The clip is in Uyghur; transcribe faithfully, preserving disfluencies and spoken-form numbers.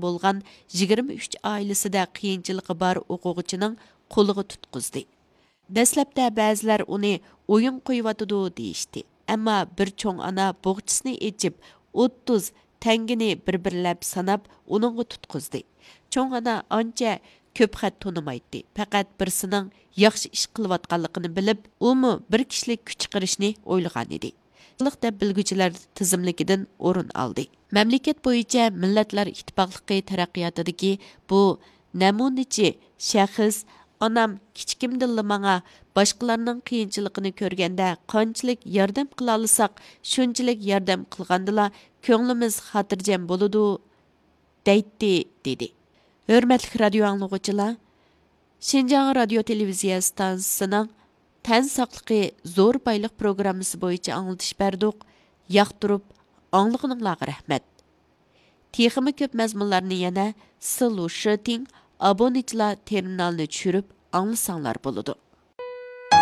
بولغان يىگىرمە ئۈچ ئائىلىسىدە قىيىنچىلىقى بار ئوقۇغۇچىنىڭ قولىغا تۇتقۇزدى. دەسلەپتە بەزىلەر ئۇنى ئويۇن قويۇۋاتىدۇ دېيىشتى، ئەمما بىر چوڭ ئانا بوغچىسىنى ئېچىپ، ئوتتۇز تەڭگىنى بىر-بىرلەپ ساناپ، ئۇنىڭغا تۇتقۇزدى. چوڭ ئانا ئانچە كۆپ خەت تونۇمايتتى، پەقەت بىرسىنىڭ ياخشى ئىش قىلىۋاتقانلىقىنى بىلىپ، ئۇمۇ بىر كىشىلىك كۈچ چىقىرىشنى ئويلىغانىدى. دەپ بىلگۈچىلەر تىزىملىكىدىن ئورۇن ئالدى. مەملىكەت بويىچە مىللەتلەر ئىتتىپاقلىقى تەرەققىياتىدىكى بۇ نەمۇنىچى شەخس، ئانام كىچىكىمدىنلا ماڭا باشقىلارنىڭ قىيىنچىلىقىنى كۆرگەندە قانچىلىك ياردەم قىلالىساق، شۇنچىلىك ياردەم قىلغاندىلا كۆڭلىمىز خاتىرجەم بولىدۇ، دەيتتى، دېدى. ھۆرمەتلىك رادىيو ئاڭلىغۇچىلار، شىنجاڭ رادىيو تېلېۋىزىيە ئىستانسىسىنىڭ تەن ساقلىقى زور بايلىق پروگراممىسى بويىچە ئاڭلىتىش بەردۇق. ياقتۇرۇپ ئاڭلىغىنىڭلارغا رەھمەت. تېخىمۇ كۆپ مەزمۇنلارنى يەنە سلۇشىتىڭ ئابونېنتلار تېرمىنالىنى چۈشۈرۈپ ئاڭلىساڭلار بولىدۇ.